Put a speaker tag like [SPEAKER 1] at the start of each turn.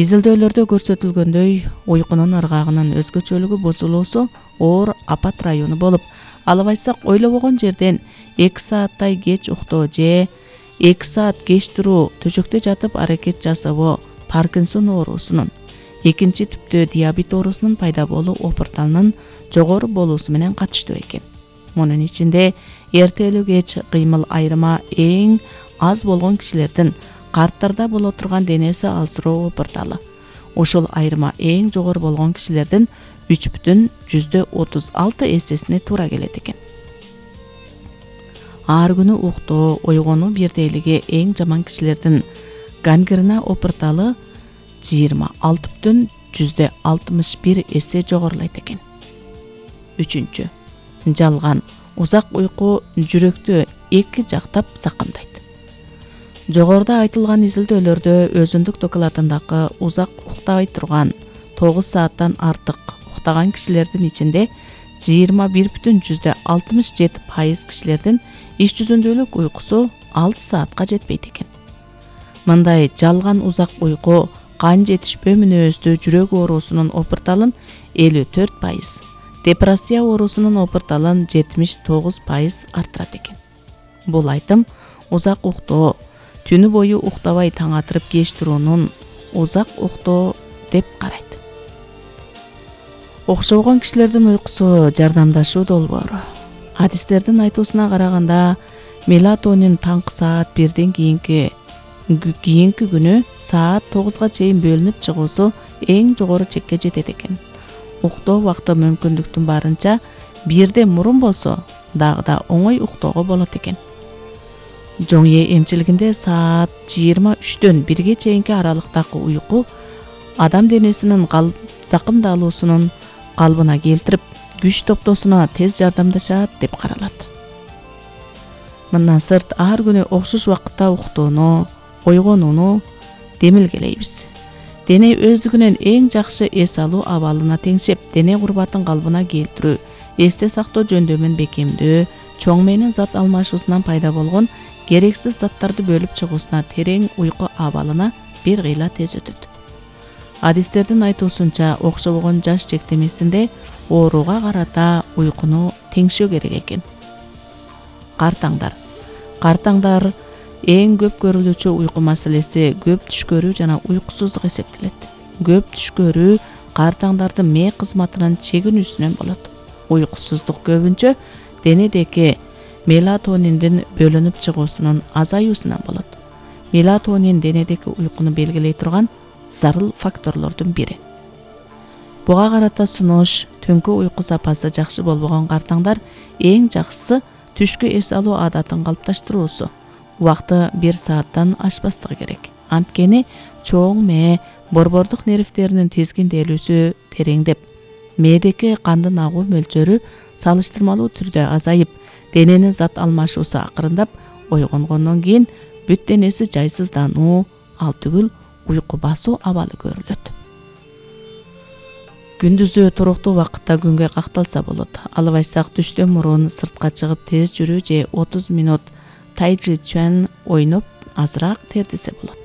[SPEAKER 1] Изилдөөлөрдө көрсөтүлгөндөй, уйкунун ыргагынын өзгөчөлүгү бузулуусу оор апат району болуп, албайсак ойлобогон жерден 2 сааттай кеч уктоо же 2 саат кеч туруу, төшөктө жатып аракет жасабоо Паркинсон оорусунун, экинчи түптүү диабет оорусунун пайда болуу опурталынын жогору болуусу менен катыштуу экен. Мунун ичинде эртелүү кеч кыймыл айырма эң аз болгон кишилердин карттарда боло турган денеси алсыроо опурталы. Ушул айырма эң жогору болгон кишилердин 3,36 эсесине туура келет экен. Ар күнү уктоо, ойгонуу бирдейлиги эң жаман кишилердин гангрена опурталы 26,61 эсе жогорулайт экен. 3. Жалган узак уйку жүрөктү эки жактап закымдайт. Жогоруда айтылган изилдөөлөрдө өзүндүк докладындагы узак уктабай турган 9 сааттан артык уктаган кишилердин ичинде 21,67% кишилердин иш жүзүндөлүк уйкусу 6 саатка жетпейт экен. Мындай жалган узак уйку кан жетишпөө мүнөздүү жүрөк оорусунун опурталын 54%, депрессия оорусунун опурталын 79% арттырат экен. Бул айтым узак уктоо, түнү бою уктабай таң атырып кеч туруунун узак уктоо деп карайт. Окшобогон кишилердин уйкусу жардамдашуу долбоору. Адистердин айтуусуна караганда, мелатонин таңкы саат 1ден кийинки күнү саат 9га чейин бөлүнүп чыгуусу эң жогору чекке жетет экен. Уктоо убакыты мүмкүндүктүн барынча 1ден мурун болсо дагы да оңой уктоого болот экен. Жоң эмчилигинде саат 23дөн 1ге чейинки аралыктагы уйку адам денесинин закымдалуусунун калыбына келтирип, күч топтоосуна тез жардамдашат деп каралат. Мындан сырт ар күнү окшош убакытта уктоону, ойгонууну демилгелейбиз. Дене өздүгүнөн эң жакшы эс алуу абалына теңшеп, дене курбатын калыбына келтирүү, эсте сактоо жөндөмүн бекемдөө, чоң мээнин зат алмашуусунан пайда болгон керексиз заттарды бөлүп чыгуусуна терең уйку абалына бир кыйла тез өтөт. Адистердин айтуусунча, окшобогон жаш чектемесинде ооруга карата уйкуну теңшөө керек экен. Картаңдар эң көп көрүлүүчү уйку маселеси көп түш көрүү жана уйкусуздук эсептелет. Көп түш көрүү картаңдардын мээ кызматынын чегинүүсүнөн болот. Уйкусуздук көбүнчө денедеги мелатониндин бөлүнүп чыгуусунун азаюусунан болот. Мелатонин денедеги уйкуну белгилей турган зарыл факторлордун бири. Буга карата сунуш, түнкү уйку сапасы жакшы болбогон картаңдар эң жакшысы түшкү эс алуу адатын калыпташтыруусу. Убакыты 1 сааттан ашпастыгы керек. Анткени чоң мээ борбордук нервдеринин тизгинделүүсү тереңдеп, мээдеги кандын агуу мөлчөрү салыштырмалуу түрдө азайып, дененин зат алмашуусу акырындап, ойгонгондон кийин бүт денеси жайсыздануу, ал түгүл уйку басуу абалы көрүлөт. Күндүзү туруктуу убакытта күнгө какталса болот. Албайсак түштөн мурун сыртка чыгып тез жүрүү же 30 мүнөт тайчи чуан ойноп азыраак тердесе болот.